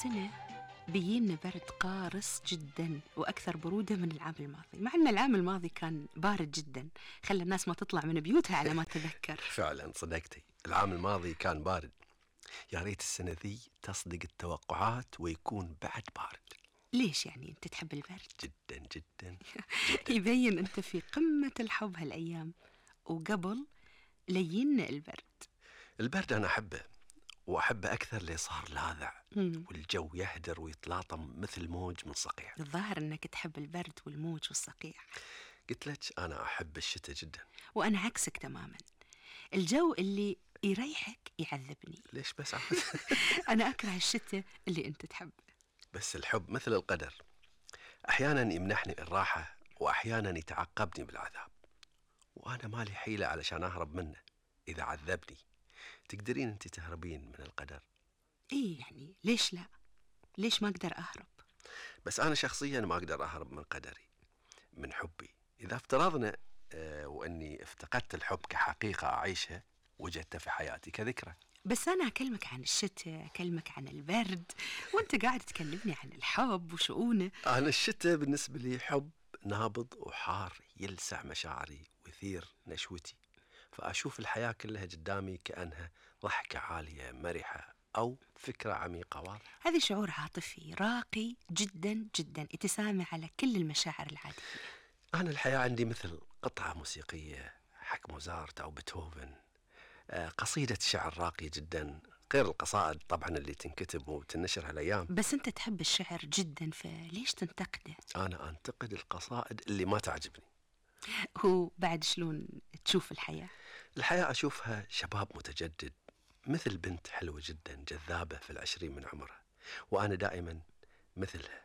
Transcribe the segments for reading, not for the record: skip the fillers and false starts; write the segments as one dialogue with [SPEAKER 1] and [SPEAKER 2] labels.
[SPEAKER 1] سنة بيجينا برد قارس جدا وأكثر برودة من العام الماضي، مع أن العام الماضي كان بارد جدا، خلى الناس ما تطلع من بيوتها على ما تذكر.
[SPEAKER 2] فعلا صدقتي، العام الماضي كان بارد. يا ريت السنة ذي تصدق التوقعات ويكون بعد بارد.
[SPEAKER 1] ليش يعني أنت تحب البرد؟
[SPEAKER 2] جدا جدا.
[SPEAKER 1] يبين أنت في قمة الحب هالأيام، وقبل لين
[SPEAKER 2] البرد أنا أحبه، وأحبه أكثر اللي صار لاذع والجو يهدر ويتلاطم مثل موج من صقيع.
[SPEAKER 1] الظاهر أنك تحب البرد والموج والصقيع.
[SPEAKER 2] قلت لك أنا أحب الشتاء جدا.
[SPEAKER 1] وأنا عكسك تماما، الجو اللي يريحك يعذبني.
[SPEAKER 2] ليش بس عاد؟
[SPEAKER 1] أنا أكره الشتاء اللي أنت تحبه.
[SPEAKER 2] بس الحب مثل القدر، أحيانا يمنحني الراحة وأحيانا يتعقبني بالعذاب، وأنا مالي حيلة علشان أهرب منه. إذا عذبني تقدرين أنت تهربين من القدر؟
[SPEAKER 1] إيه يعني ليش لا؟ ليش ما أقدر أهرب؟
[SPEAKER 2] بس أنا شخصيا ما أقدر أهرب من قدري، من حبي. إذا افترضنا وأني افتقدت الحب كحقيقة أعيشها وجدتها في حياتي كذكرى.
[SPEAKER 1] بس أنا أكلمك عن الشتاء، أكلمك عن البرد، وأنت قاعد تكلمني عن الحب وشؤونه.
[SPEAKER 2] أنا الشتاء بالنسبة لي حب نابض وحار يلسع مشاعري ويثير نشوتي، فأشوف الحياة كلها قدامي كأنها ضحكة عالية مرحة أو فكرة عميقة واضحة.
[SPEAKER 1] هذا شعور عاطفي راقي جدا جدا يتسامى على كل المشاعر العادية.
[SPEAKER 2] أنا الحياة عندي مثل قطعة موسيقية حق موزارت أو بيتهوفن، قصيدة شعر راقي جدا، غير القصائد طبعا اللي تنكتب وتنشر هالأيام.
[SPEAKER 1] بس أنت تحب الشعر جدا، فليش تنتقده؟
[SPEAKER 2] أنا أنتقد القصائد اللي ما تعجبني.
[SPEAKER 1] هو بعد شلون تشوف الحياة؟
[SPEAKER 2] الحياة أشوفها شباب متجدد، مثل بنت حلوة جدا جذابة في 20 من عمرها، وأنا دائما مثلها،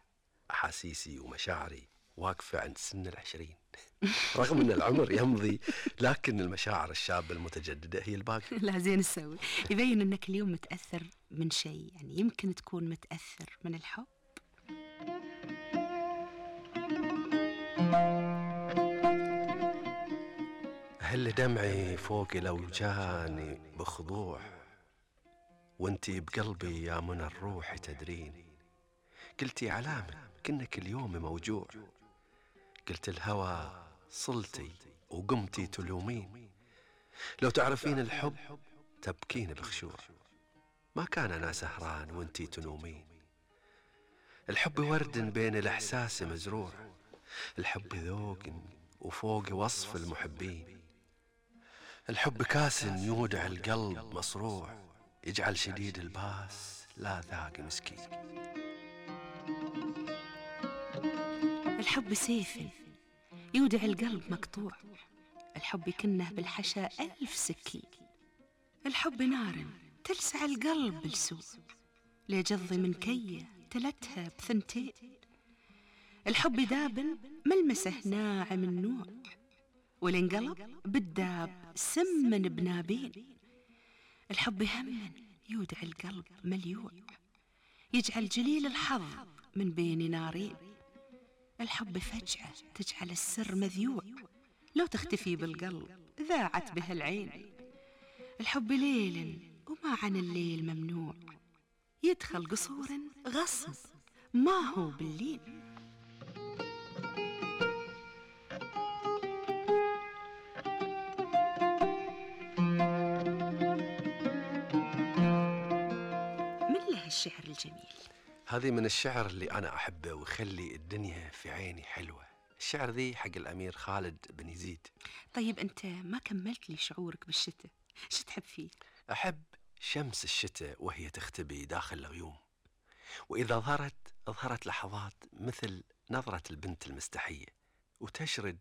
[SPEAKER 2] أحاسيسي ومشاعري واقفة عند سن 20. رغم أن العمر يمضي، لكن المشاعر الشابة المتجددة هي الباقي.
[SPEAKER 1] لا زين تسوي، يبين أنك اليوم متأثر من شيء، يعني يمكن تكون متأثر من الحب.
[SPEAKER 2] هل دمعي فوق لو جاني بخضوع، وانتي بقلبي يا من الروح تدرين. قلتي علامة كنك اليوم موجوع، قلت الهوى صلتي وقمتي تلومين. لو تعرفين الحب تبكين بخشوع، ما كان أنا سهران وانتي تنومين. الحب ورد بين الإحساس مزروع، الحب ذوق وفوق وصف المحبين. الحب كاس يودع القلب مصروع، يجعل شديد الباس لا ذاق مسكين.
[SPEAKER 1] الحب سيف يودع القلب مقطوع، الحب يكنه بالحشا 1000 سكين. الحب نار تلسع القلب بالسوء، ليجض من كيه تلتها بثنتين. الحب داب ملمسه ناعم النوع، والانقلب بالداب سمن بنابين. الحب هم يودع القلب مليوع، يجعل جليل الحظ من بين نارين. الحب فجأة تجعل السر مذيوع، لو تختفي بالقلب ذاعت به العين. الحب ليل وما عن الليل ممنوع، يدخل قصور غصب ما هو بالليل. من له الشعر الجميل؟
[SPEAKER 2] هذه من الشعر اللي أنا أحبه ويخلي الدنيا في عيني حلوة. الشعر ذي حق الأمير خالد بن يزيد.
[SPEAKER 1] طيب أنت ما كملت لي شعورك بالشتاء، شو تحب فيه؟
[SPEAKER 2] أحب شمس الشتاء وهي تختبي داخل الغيوم، وإذا ظهرت لحظات مثل نظرة البنت المستحية وتشرد،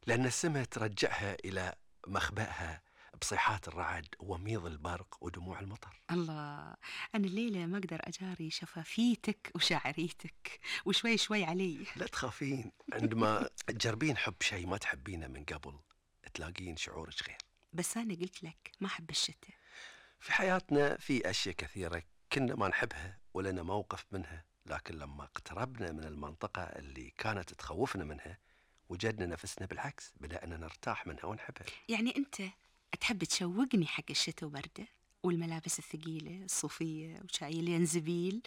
[SPEAKER 2] لأن السماء ترجعها إلى مخبأها بصيحات الرعد وميض البرق ودموع المطر.
[SPEAKER 1] الله، أنا الليلة ما أقدر أجاري شفافيتك وشاعريتك، وشوي شوي علي.
[SPEAKER 2] لا تخافين، عندما تجربين حب شيء ما تحبينه من قبل تلاقين شعورك غير.
[SPEAKER 1] بس أنا قلت لك ما أحب الشتاء.
[SPEAKER 2] في حياتنا في أشياء كثيرة كنا ما نحبها ولنا موقف منها، لكن لما اقتربنا من المنطقة اللي كانت تخوفنا منها وجدنا نفسنا بالعكس، بدأنا نرتاح منها ونحبها.
[SPEAKER 1] يعني أنت تحب تشوقني حق الشتاء وبرده والملابس الثقيلة الصوفية وشاي الينزبيل